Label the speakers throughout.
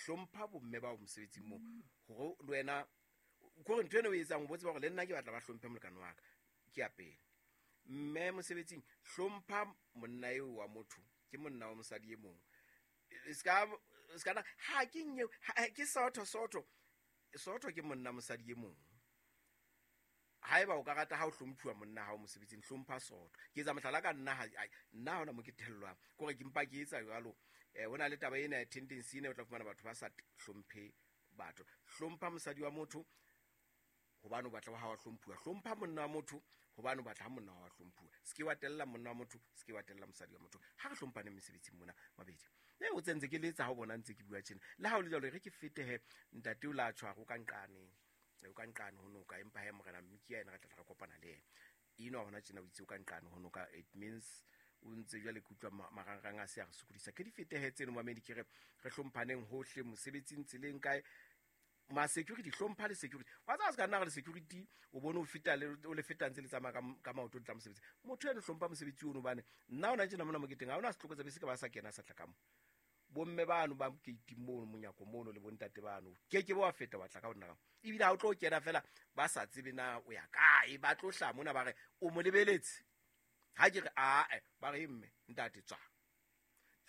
Speaker 1: Hlompha bomme bao mosebetsing moo, hore le wena kore ntho eno o etsang o bo tseba hore le nna ke batla ba hlomphe molekane wa ka. Ke ya pele, mme mosebetsing hlompha monna eo wa motho, ke monna wa mosadi e mong. Se ka na ha ke nye ke sotho sotho sotho, ke monna mosadi e mong. Haeba o ka rata ha o hlomphuwa monna hao mosebetsing, hlompha sotho. Ke etsa mohlala ka nna, nna ha hona mo ke thellwang, kore ke mpa ke etsa jwalo. Ho na le taba ena ya tendency ena, o tla fumana batho ba sa hlomphe batho. Hlompha mosadi wa motho hobane o batla wa hao wa hlomphuwa. Hlompha monna wa motho hobane o batla ha monna wa wa hlomphuwa. Se ke wa tella monna wa motho, se ke wa tella mosadi wa motho. Ha re hlomphane mesebetsing mona mabedi e o tsentse ke letsa ha o bona ntse ke bua tjena. Le ha o le jwalo, re ke fetehe ntate o la tshwaro ka nqane, o ka nqane ho noka, empa he morena Mmiki yena re tla re kopana le yena eno hona tjena. O itse o ka nqane ho noka, it means o ntse jwale ke utlwa marangrang a se a re sokodisa. Ke di fetehe tseno, mamedi. Ke re re hlomphaneng hohle mosebetsing, tseleng, kae. Ma-security, hlompha le security wa tsaya se ka nna re le security o bone o feta le o le feta ntse le tsamaya ka maoto le tla mosebetsi. Motho eno hlompha mosebetsi ono, bane nna ona tjena mona moketeng ha ona setlokotsebe se ka ba sa kena sa tla ka mo. Bomme bano ba keiting mono, monyako mono, le bontate bano, ke ke ba wa feta wa tla ka ho nna ka ebile ha o tlo kena fela ba sa tsebe na o ya kae. Ba tlo hlaha mona ba re o mo lebeletse, ha ke re ae, ba re mme ntate tswa.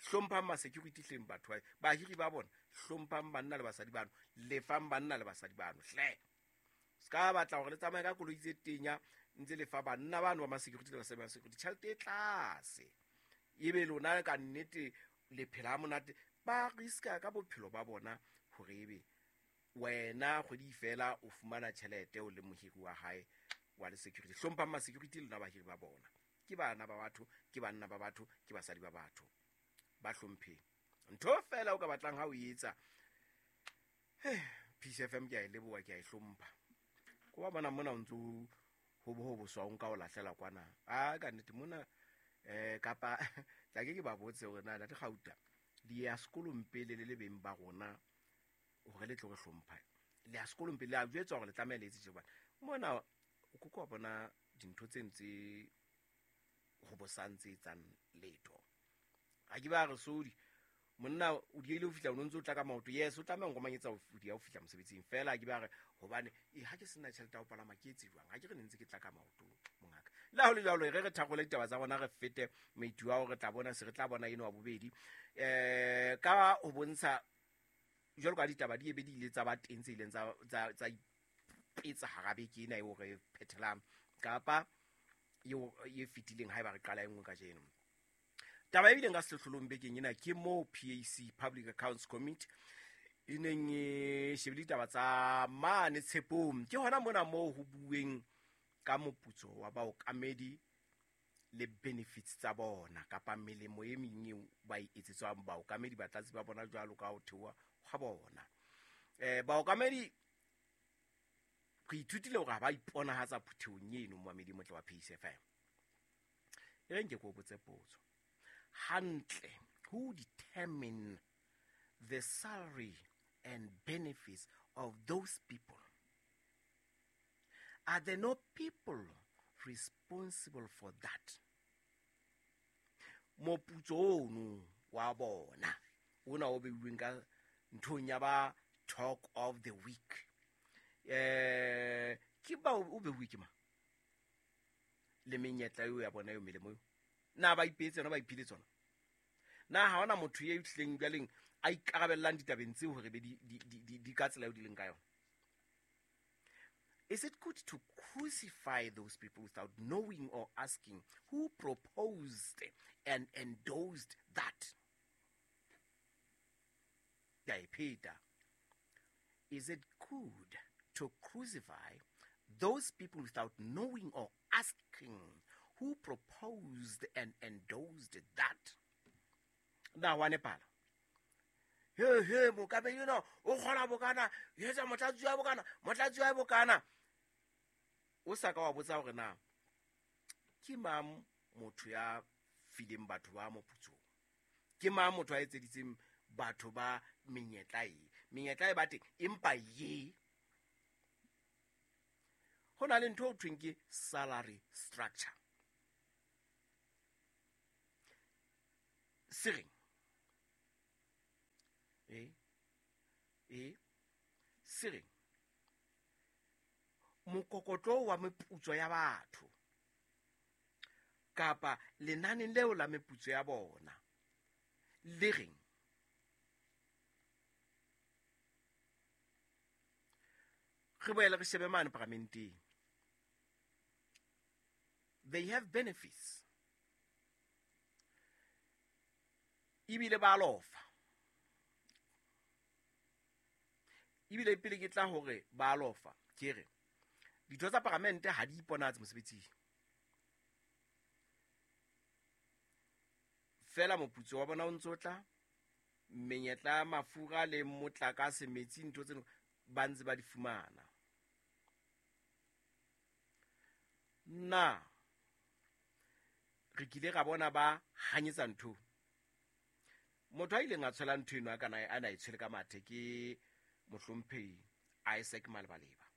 Speaker 1: Hlomphang ma-security hleng, batho ba bahiri ba bona. Hlomphang banna le basadi bano, lefang banna le basadi bano hle. Se ka batla hore le tsamaye ka koloi tse tenya ntse lefa banna bano ba ma-security le basadi ba security tjhelete e tlase, ebe lona ka nnete le phela ha monate. Ba riska ka bophelo ba bona hore ebe wena kgwedi fela o fumana tjhelete o le mohiri wa hae wa le security. Hlomphang ma-security, lona bahiri ba bona. Ke bana ba batho, ke banna ba batho, ke basadi ba batho, ba hlompheng. Ntho fela o ka batlang ha o etsa Peace FM, ke a e leboha, ke a e hlompha. Ko ba bona mona o ntso ho bo ho boswa, o nka o lahlela kwana a ka nnete mona kapa tla ke ba botse hore na ntate Gauta di ya sekolong pele le le beng ba rona hore le tlo re hlompha. Le ya sekolong pele le a jwetswa hore le tlameha le etse tje, hobane mona o koko wa bona dintho tse ntse ho bosang tse etsang letho. Ha ke ba re sodi monna o diehile ho fihla, o no ntse o tla ka maoto. Yes, o tlameha nkomanyetsa ho dia ho fihla mosebetsing fela. Ke ba re hobane e ha ke sena tjhelete ya ho palama, ke etse jwang? Ha ke re ne ntse ke tla ka maoto, mongaka. Le ha ho le jwalo, re re thakgole ditaba tsa rona, re fete maitu ao re tla bona se re tla bona eno wa bobedi ka ho bontsha jwalo ka ditaba di ebe di ile tsa ba teng tse ileng tsa ipetsa hara beke ena eo re phethelang kapa eo e fetileng. Haeba re qala e nngwe kajeno, taba e bileng ka sehlohlolong bekeng ena ke moo PAC, Public Accounts Committee, e neng e shebile ditaba tsa mane Tshepong. Ke hona mona moo ho bueng ka moputso wa baokamedi le benefits tsa bona kapa melemo e meng eo ba e etsetswang baokamedi, batlatsi ba bona, jwalo ka ho theoha hwa bona. Baokamedi re ithutile hore ha ba iponahatsa phuthehong eno. Momamedi motle wa Pace FM, e reng ke ko botse potso hantle: who determine the salary and benefits of those people? Are there no people responsible for that? Moputso ono wa bona ona o beuweng ka nthong ya ba talk of the week, ke ba o beuwe ke mang? Le menyetla eo ya bona eo, melemo eo, na ba ipeetse yona, ba iphile tsona? Na ha hona motho e tlileng jwaleng a ikarabellang ditabeng tseo hore be di ka tsela eo di leng ka yona? Is it good to crucify those people without knowing or asking who proposed and endorsed that? Ke a e pheta: is it good to crucify those people without knowing or asking who proposed and endorsed that? Na wa nepala he he mokamedi eno o kgola bokana, etsa motlatsi wa bokana, motlatsi wa bokana, o sa ka wa botsa hore na ke mang motho ya fileng batho ba moputsong, ke mang motho a etseditseng batho ba menyetla e menyetla e ba teng? Empa ye ho na le ntho ho thweng ke salary structure se reng E se reng mokokotlo wa meputso ya batho kapa lenaneng leo la meputso ya bona le reng? Re boele re shebe mane paramenteng, they have benefits ebile ba lofa, ebile pele ke tla hore ba lofa, ke re ditho tsa paramente ha di iponatse mosebetsing fela, moputso wa bona o ntso tla, menyetla, mafura le motlakase, metsi, ntho tseno ba ntse ba di fumana. Na re kile ra bona ba hanyetsa ntho? Motho a ileng a tshwela ntho eno a kana a na e tshwele ka mathe ke mohlomphehi Isaac Malebaleba.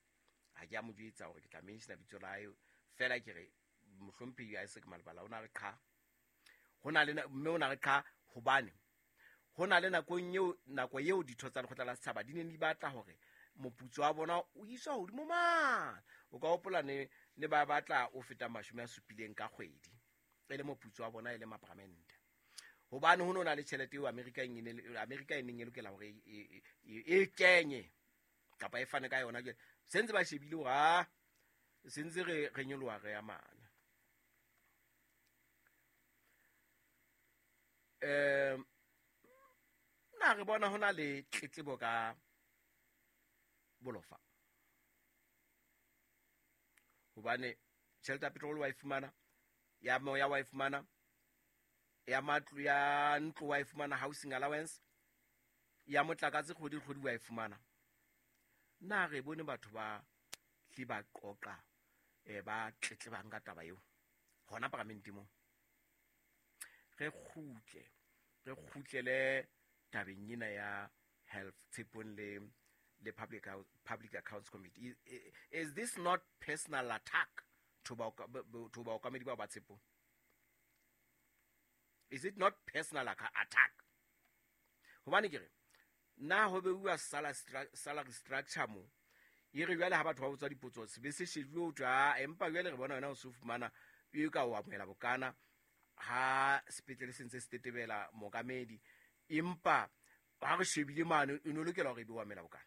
Speaker 1: Ha ke a mo jwetsa hore ke tla mention bitso la hae, fela ke re mohlomphehi Isaac Malebala o na re qha ho na le, mme o na re qha hobane ho na le nakong eo, nako eo ditho tsa lekgotla la setjhaba di ne di batla hore moputso wa bona o iswa hodimo mane. O ka hopola ne ba batla o feta 70 ka kgwedi e le moputso wa bona e le maparamente, hobane ho no na le tjhelete eo Amerika e neng e lokela hore e kenye kapa e fane ka yona. Jwale se ntse ba shebile hore a se ntse re nyoloha re ya mane. Na re bona hona le tletlebo ka bolofa, hobane tjhelete ya petrol wa e fumana, ya moya wa e fumana, ya matlo, ya ntlo wa e fumana, housing allowance, ya motlakase kgwedi kgwedi wa e fumana. Na re bone batho ba hle ba qoqa ba tletlebang ka taba eo hona paramente mo? Re kgutlele tabeng ena ya health tshepong le public accounts committee. Is this not personal attack to baokamedi bao ba tshepong? Is it not personal attack? Hobane ke re na ho beuwa salary structure mo e re jwale ha batho ba botsa dipotso se be se shejuwe ho thwe, empa jwale re bona wena o se fumana e ka o amohela bokana ha sepetlele se ntse se tetebela mookamedi, empa ha re shebile mane e no lokela hore e be o amohela bokana.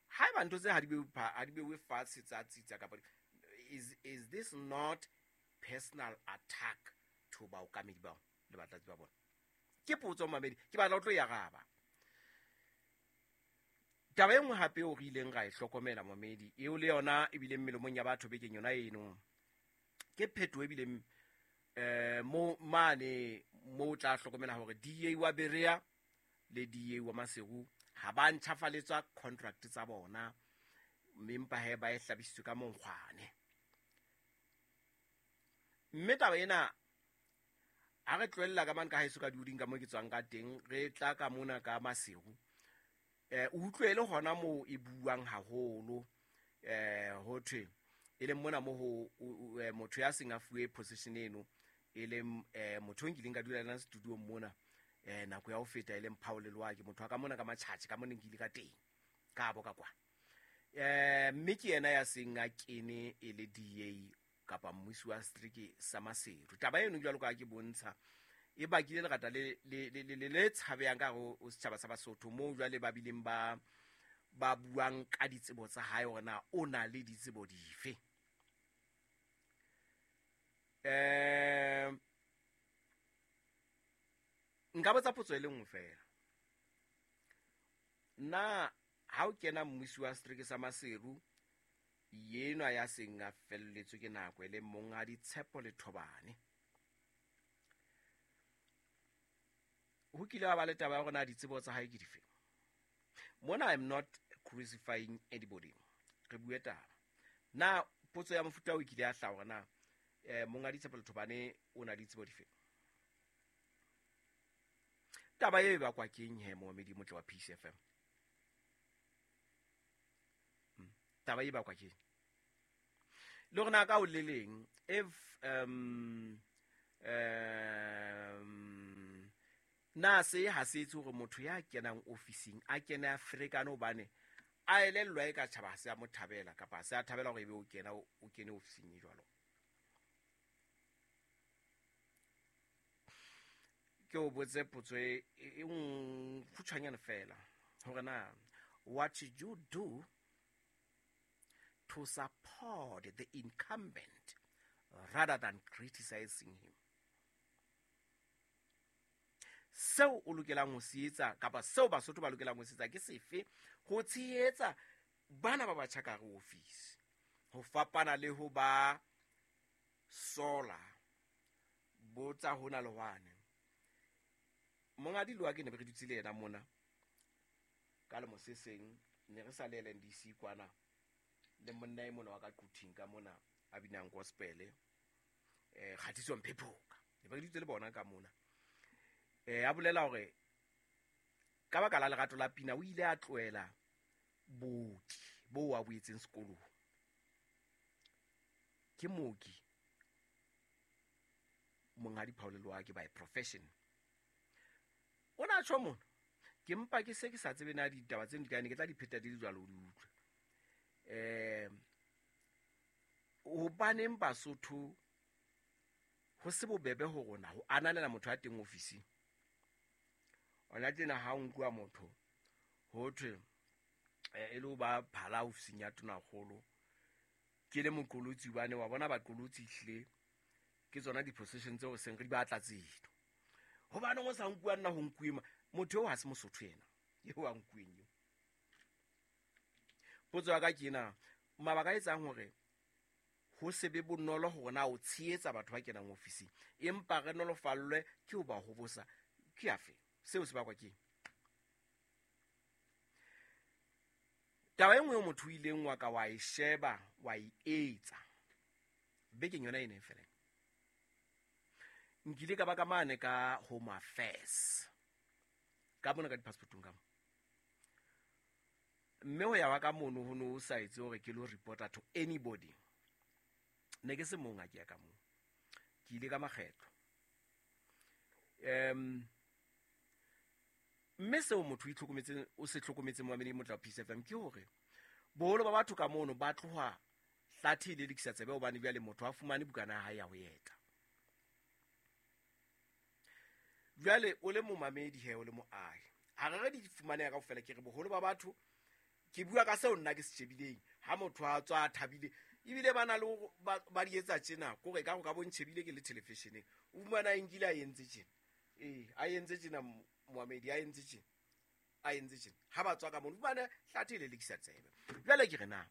Speaker 1: Haeba ntho tse ha di beuwe fatshe tsa tsitsa kapa is this not personal attack to baokamedi bao le batlatsi ba bona? Ke potso mamedi, ke batla o tlo e araba. Taba e nngwe hape o re ileng ra e hlokomela mamedi, eo le yona e bileng melomong ya batho bekeng yona eno, ke phetoho e bileng mo mane mo o tla hlokomela hore DA wa Berea le DA wa Maseru ha ba ntjhafaletswa contract tsa bona, mme empa he ba e hlabisitswe ka monkgwane. Mme taba ena ha re tlohella ka mane ka haeso ka dioding ka mo ke tswang ka teng, re tla ka mona ka Maseru, o utlwele hona moo e buang haholo, ho thwe e leng mona mo ho motho ya seng a fuwe position eno, e leng motho o nkileng ka dula le studio mona nako ya ho feta, e leng Paul Loa, ke motho wa ka mona ka Matjhatjhe ka mona nkile ka teng ka bo ka kwa, mme ke yena ya seng a kene e le DA kapa mmusi wa setereke sa Maseru. Taba eno jwalo ka ke bontsha e bakile lerata le tshabehang ka hare ho setjhaba sa Basotho, moo jwale ba bileng ba buang ka ditsebo tsa hae hore na o na le ditsebo dife. Nka botsa potso e le nngwe fela, na ha o kena mmusi wa setereke sa Maseru yenwa ya seng a felletswe ke nako e le monghadi Tshepo le Thobane, ho kile wa ba le taba ya hore na ditsebo tsa hae ke dife? Mona I'm not crucifying anybody, re bue taba. Na potso ya mofuta o kile ya hlaha hore na monghadi Tshepo le Thobane o na le ditsebo dife? Taba e bakwa keng he momedi motle wa Peace FM? Taba e bakwa keng? Le hore na ka o le leng if Na se ha se etse hore motho ya kenang ofising a kene a ferekane hobane a elellwa e ka tjhaba ha se a mo thabela kapa ha se a thabela hore ebe o kena o kene ofising e jwalo? Ke o botse potso e kgutshwanyane fela hore na what should you do to support the incumbent rather than criticizing him? Seo o lokelang ho se etsa kapa seo Basotho ba lokelang ho se etsa ke sefe ho tshehetsa bana ba batjha ka hare office ho fapana le ho ba sola? Botsa hona le hwane. Mongadi Loa ke ne re dutse le yena mona ka lemo se seng, ne re sa le LNDC kwana le monna e mona wa ka Quthing ka mona a binang gospel, Kgatiso Mphephoka, ne re dutse le bona ka mona. A bolela hore ka baka la lerato la pina o ile a tlohela booki bo a boetseng sekolong. Ke mooki monghadi Paul Loa ke by profession. O na tjho mona, ke mpa ke se ke sa tsebe na ditaba tseno di kae, ne ke tla di pheta di le jwalo o di utlwe. Hobaneng Basotho ho se bobebe ho rona ho ananela motho a teng ofising? Ona tjena ha o nkuwa motho ho thwe e le ho ba phala ofising ya tonakgolo, ke le moqolotsi hobane wa bona baqolotsi ehlile ke tsona di-position tseo seng re di batla tseno. Hobaneng o sa nkuwa nna ho nkuwe motho eo ha se Mosotho yena eo a nkuweng eo. Potso ya ka ke ena, mabaka a etsang hore ho se be bonolo hore na o tshehetsa batho ba kenang ofising empa re nolofallwe ke ho ba hobosa ke afe? Seo se bakwa ke eng? Taba e nngwe eo motho o ileng wa ka wa e sheba wa e etsa bekeng yona e neng felang, nkile ka ba ka mane ka Home Affairs ka mona ka di-passportong ka mo, mme ho ya wa ka mono ho no sa etse hore ke lo reporta to anybody. Ne ke se mong ha ke ya ka moo, ke ile ka makgetlo. Mme seo motho o se hlokometseng momamedi motla Peace FM ke hore boholo ba batho ka mono ba tloha hlathe le lekisa tsebe hobane jwale motho a fumane bukana ya hae ya ho eta. Jwale o le momamedi he, o le moahi, ha re re di fumaneha kaofela, ke re boholo ba batho, ke bua ka seo nna ke se shebileng. Ha motho a tswa a thabile ebile ba na le ba di etsa tjena, kore ka go ka bontshebile ke le televisioneng, o fumana a nkile a entse tjena, a entse tjena moamedi, a entse tjena, a entse tjena, ha ba tswa ka mono fumane hlathe le lekisa tsebe. Jwale ke re na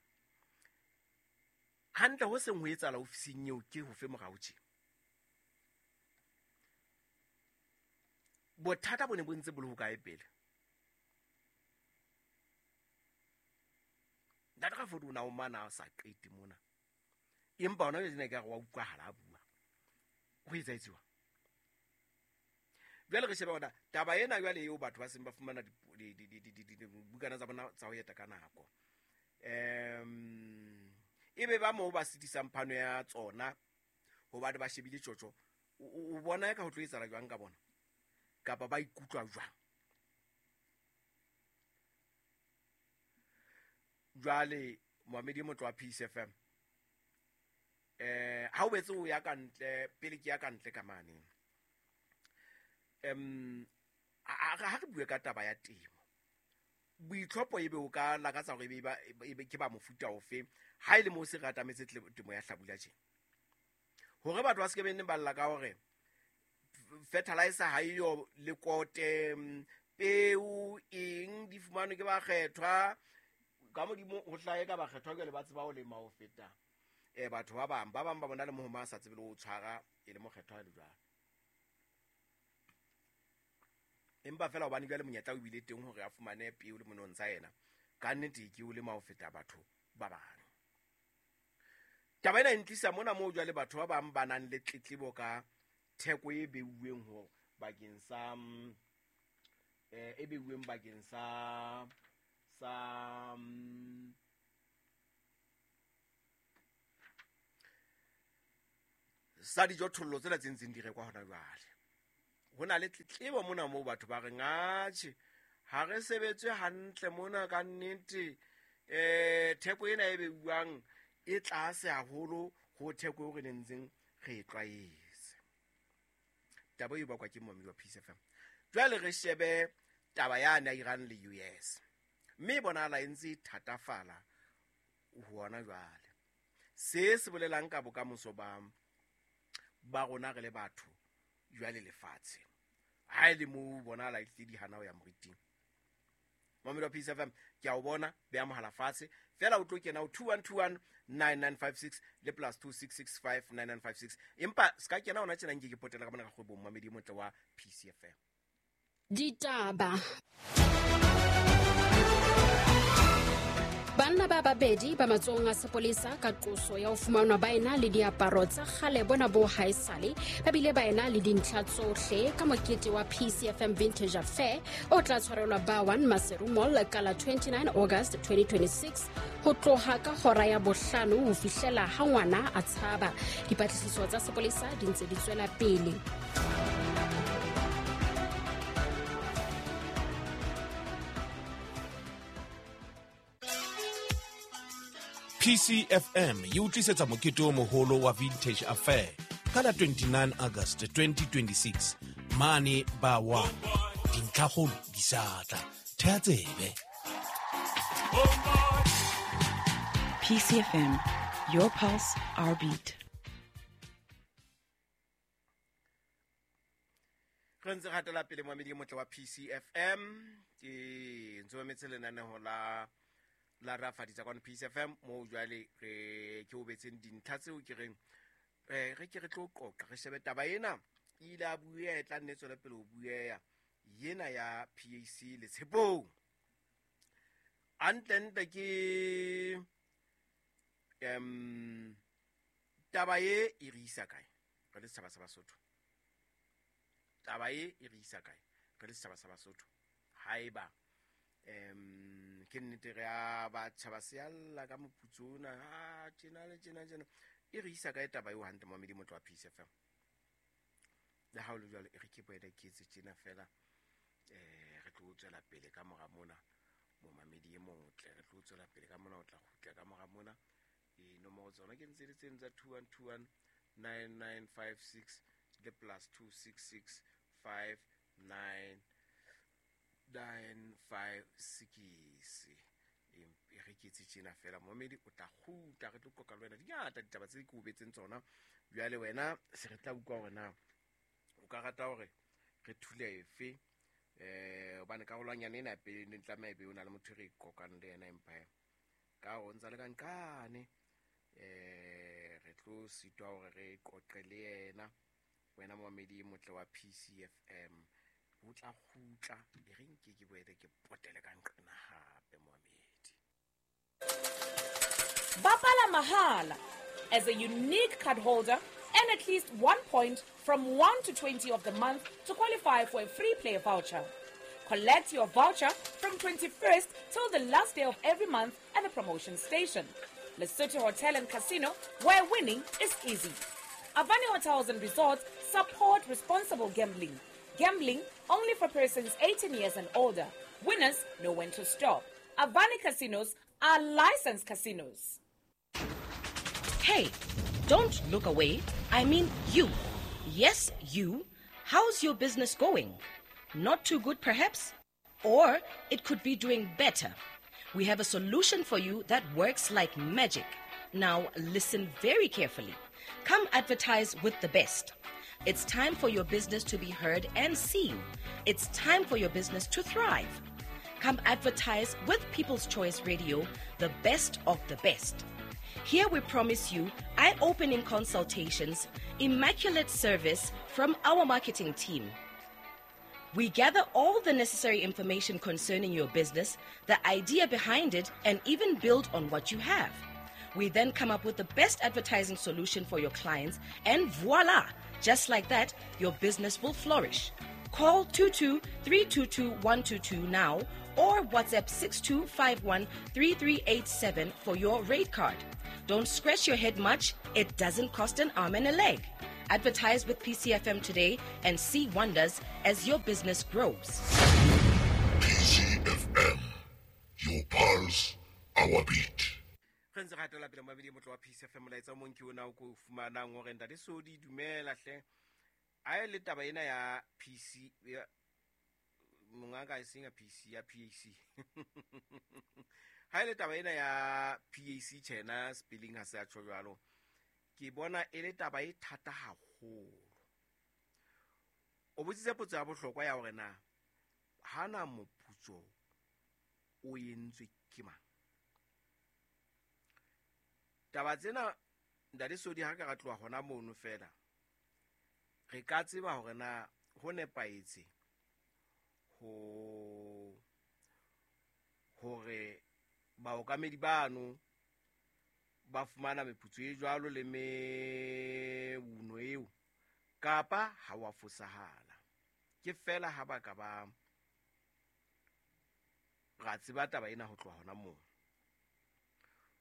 Speaker 1: hantle ho seng ho etsahala ofising eo ke ho fe morao tje? Bothata bo ne bo ntse bo le hokae pele? Ntate Rafodi o na o mana a sa qete mona, empa hona jwale ke re wa utlwahala a bua. Ho etsahetse jwang? Jwale re shebe hona taba ena jwale eo batho ba seng ba fumana dibukana tsa bona tsa ho eta ka nako. Ebe ba moo ba sitisang phano ya tsona hobane ba shebile tjotjo. O bona ka ho tlo etsahala jwang ka bona? Kapa ba ikutlwa jwang? Jwale moamedi motho wa Peace FM, ha o betse o ya ka ntle, pele ke ya ka ntle ka mane, ha re bue ka taba ya temo, boitlhopho ebe o ka lakatsa hore ebe ke ba mofuta ofe ha e le moo se re atametse temo ya hlabula tje, hore batho ba se ke be neng ba lla ka hore fertilizer ha eyo, lekote, peo eng di fumanwe ke bakgethwa. Ka modimo ho hlahe ka bakgethwa jwale ba tseba ho lema ho feta batho ba bang. Ba bang ba bona le mohoma a sa tsebe le ho tshwara e le mokgethwa le jwalo. Empa fela hobane jwale monyetla o bile teng hore a fumane peo le monontsha yena, ka nnete ke o lema ho feta batho ba bang. Taba ena e ntlisa mona moo jwale batho ba bang ba nang le tletlebo ka theko e beuweng ho bakeng sa, e beuweng bakeng sa sa dijothollo tsena tse ntseng di rekwa hona jwale. Ho na le tletlebo mona moo batho ba reng atjhe ha re sebetswe hantle mona ka nnete, theko ena e beuwang e tlase haholo ho theko eo re nentseng re e tlwaetse. Taba e bakwa ke momamedi wa Peace FM. Jwale re shebe taba yane ya Iran le US, mme e bonahala e ntse e thatafala hona jwale. Se se bolelang ka bokamoso ba rona re le batho jwale lefatshe ha e le moo bonahala e tlile di hana ho ya moriting. Momamedi wa Peace FM, ke a o bona, beha mohala fatshe fela o tlo kena ho 2121 9956 le plus 2665 9956, empa se ka kena hona tjena nke ke potela ka mona ka kgwebong, momamedi e motle wa Peace FM.
Speaker 2: Ditaba. Banna ba babedi ba matsohong a sepolesa ka qoso ya ho fumanwa ba ena le diaparo tsa kgale bona bo haesale, ba bile ba ena le dintlha tsohle ka mokete wa PCFM Vintage Affair o tla tshwarelwa Ba1 Maseru Mall ka la 29 August 2026 ho tloha ka hora ya 5 ho fihlela ha ngwana a tshaba. Dipatlisiso tsa sepolesa di ntse di tswela pele.
Speaker 3: PCFM e o tlisetsa mokete o moholo wa Vintage Affair ka la 29 August 2026 mane ba wa dintlhakgolo di sa tla. Thea tsebe.
Speaker 4: PCFM, your pulse, our beat.
Speaker 1: Re ntse re hatela pele momamedi e motle wa PCFM, ke ntse mametse lenaneo la rafaditsa kwano Peace FM, moo jwale re ke o betseng dintlha tseo ke reng re ke re tlo qoqa re shebe taba ena e ile a bueha, e tla nne tswele pele ho bueha yena ya PAC le Tshepong. Hantlentle ke taba e e re isa kae re le setjhaba sa Basotho? Taba e e re isa kae re le setjhaba sa Basotho? Haeba ke nnete re a batjha ba se alla ka moputso ona, ha tjena le tjena tjena, e re isa kae taba eo hantle momamedi motho wa Peace FM? Le ha o le jwalo, e re ke boele ke etse tjena fela, re tlo tswela pele ka mora mona, momamedi e motle, re tlo tswela pele ka mona, o tla kgutla ka mora mona. Nomoro tsona ke ntse le tseno tsa 2121 9956 le plus 266 59 956. E re ke etse tjena fela, momamedi o tla kgutla, re tlo qoqa le wena dingata ditaba tse ke o betseng tsona. Jwale wena se re tla utlwa hore na o ka rata hore re thule efe, hobane karolwanyana ena ya pele ne tlameha ebe o na le motho e re qoqang le yena, empa ka hore o ntsa le ka nqane, re tlo sitwa hore re qoqe le yena. Wena momamedi e motle wa PCFM, o tla kgutla, e re nke ke boele ke potele ka nqena hape momamedi.
Speaker 5: Bapala mahala. As a unique card holder, earn at least 1 point from 1 to 20 of the month to qualify for a free play voucher. Collect your voucher from 21st till the last day of every month at the promotion station. Lesotho Hotel and Casino, where winning is easy. Avani Hotels and Resorts support responsible gambling. Gambling only for persons 18 years and older. Winners know when to stop. Avani Casinos are licensed casinos.
Speaker 6: Hey, don't look away. I mean you. Yes, you. How's your business going? Not too good, perhaps? Or it could be doing better. We have a solution for you that works like magic. Now, listen very carefully. Come advertise with the best. It's time for your business to be heard and seen. It's time for your business to thrive. Come advertise with People's Choice Radio, the best of the best. Here we promise you eye-opening consultations, immaculate service from our marketing team. We gather all the necessary information concerning your business, the idea behind it, and even build on what you have. We then come up with the best advertising solution for your clients, and voila! Just like that, your business will flourish. Call 22-322-122 now or WhatsApp 6251-3387 for your rate card. Don't scratch your head much. It doesn't cost an arm and a leg. Advertise with PCFM today and see wonders as your business grows.
Speaker 7: PCFM, your pulse, our beat.
Speaker 1: Re ntse re hatela pele mabedi motlo wa Peace FM. Molaetsa o mong ke ona o ko fumanang hore ntate Sodi, dumela hle. A e le taba ena ya PC ya mongaka, e seng ya PC, ya PAC. Ha e le taba ena ya PAC tjhena, spelling ha se a tjho jwalo, ke bona e le taba e thata haholo. O botsitse potso ya bohlokwa ya hore na hana moputso o entswe ke mang. Taba tsena ntate Sodi, ha ka ra tloha hona mono fela, re ka tseba hore na ho nepahetse ho hore baokamedi bano ba fumana meputso e jwalo le meuno eo, kapa ha wa fosahala. Ke fela ha ba ka ba ra tseba taba ena ho tloha hona moo.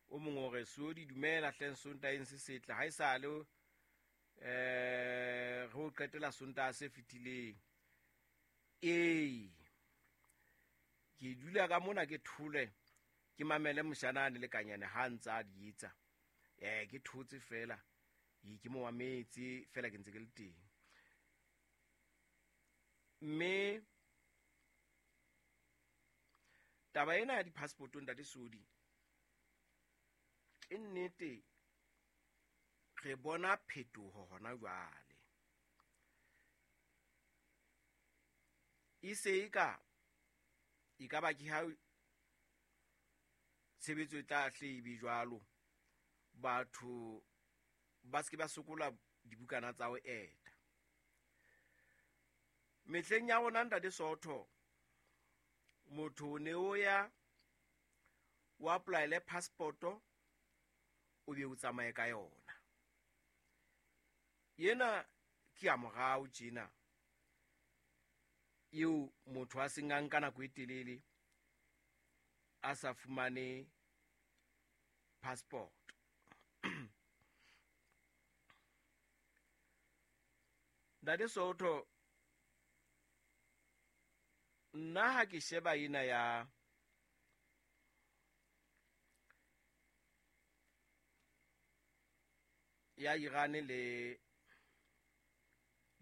Speaker 1: O mongwe o re, Sodi dumela hleng, Sontaeng se setle. Ha esale re o qetela Sontaha se fetileng. Ee, ke dula ka mona ke thole, ke mamele moshanane le kanyane ha ntse a di etsa. Ke thotse fela, ke mo mametse fela, ke ntse ke le teng. Mme taba ena ya di-passport, ntate Sodi, ke nnete re bona phetoho hona jwale. E se e ka e ka ba ke ha tshebetso e tla hle ebe jwalo, batho ba se ke ba sokola dibukana tsa ho eta. Mehleng ya rona, ntate Sootho, motho o ne o ya o apply-ele passport-o, o be o tsamaye ka yona. Ena ke ya morao tjena eo motho a seng a nka nako e telele a sa fumane passport. Ntate Sootho, nna ha ke sheba ena ya Iran le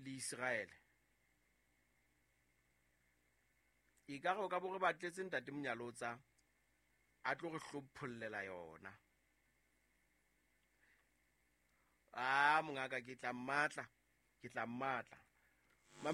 Speaker 1: Israel, e ka re o ka bo re batletse ntate Monyalotsa a tlo re hlophollela yona. A mongaka, ke tla mmatla, ke tla mmatla.